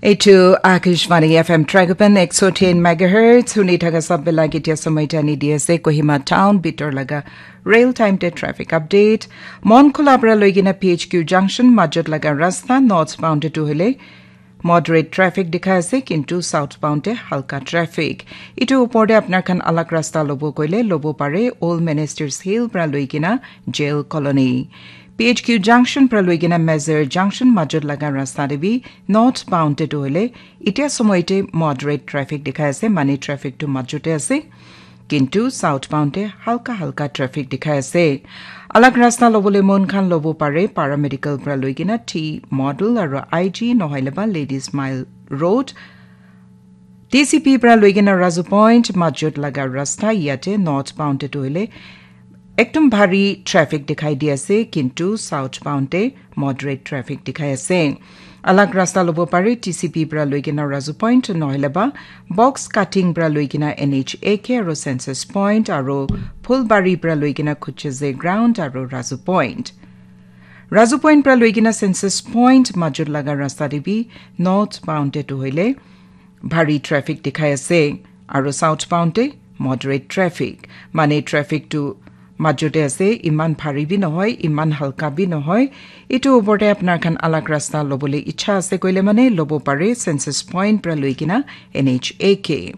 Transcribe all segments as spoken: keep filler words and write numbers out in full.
Eitu Akashvani F M Tragapan ek so ten megahertz, huni thaka sab bila kitia samai tani D S A Kohima Town bitor laga rail time te traffic update. Mon Khula pra loigina P H Q junction majot laga rasta northbound te tu hile moderate traffic dikhai ase, kintu southbound te halka traffic. Itu upor te apnar khan alag rasta lobo koile lobo pare, Old Ministers Hill pra loigina Jail Colony. P H Q junction pra loigina Mazar junction majot laga rasta te bi northbound te tu hile itia samai te moderate traffic dikhai ase, mane traffic tu majot te ase. Kintu southbound te halka halka traffic dikhai ase. Alag rasta lobole mon khan lobo pare, Paramedical pra loigina T Model aro I G nohoile ba Ladies Mile Road. T C P pra loigina Razu Point majot laga rasta yate northbound te tu hile ekdum bhari traffic dikhai di ase, kintu southbound te moderate traffic dikhai ase. Alag rasta lobo pare T C P pra loigina Razu Point nohoile ba box cutting pra loigina N H A K aro Census Point aro Phulbari pra loigina Khucheze Ground aro Razu Point. Razu Point pra loigina Census Point majot laga rasta te bi northbound te tu hoile bhari traffic dikhai ase aro southbound te moderate traffic. Mane traffic tu majot te ase, iman bhari bi nohoi, iman halka bi nohoi. Itu upor te apnar khan alag rasta lobole ichha ase koile mane lobo pare Census Point pra loigina N H A K.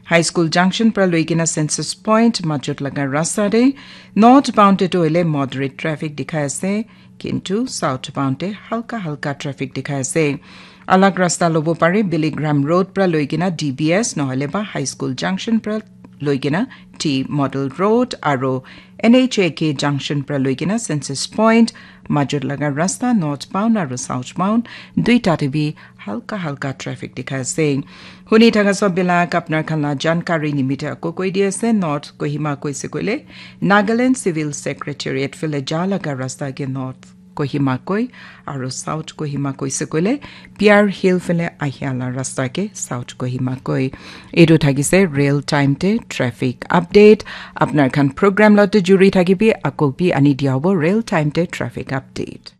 High School Junction pra loigina Census Point majot laga rasta te northbound te tu hoile moderate traffic dikhai ase, kintu southbound te halka halka traffic dikhai ase. Alag rasta lobo pare Billy Graham Road pra loigina D B S nohoile ba High School Junction pra loigina T Model Road aro N H A K Junction pra loigina Census Point majot laga rasta northbound aro southbound duita te bi halka halka traffic dikhai ase. Huni thaka sab bilak apnar khan la jankari nimite ako koi di ase, North Kohima koise koile Nagaland Civil Secretariat phale ja laga rasta ke North Kohima koi, aro South Kohima koise koile Piar Hill phale ahia la rasta ke South Kohima koi. Etu thakise real time te traffic update. Apnar khan program lote juri thakibi, ako bi ani dia hobo real time te traffic update.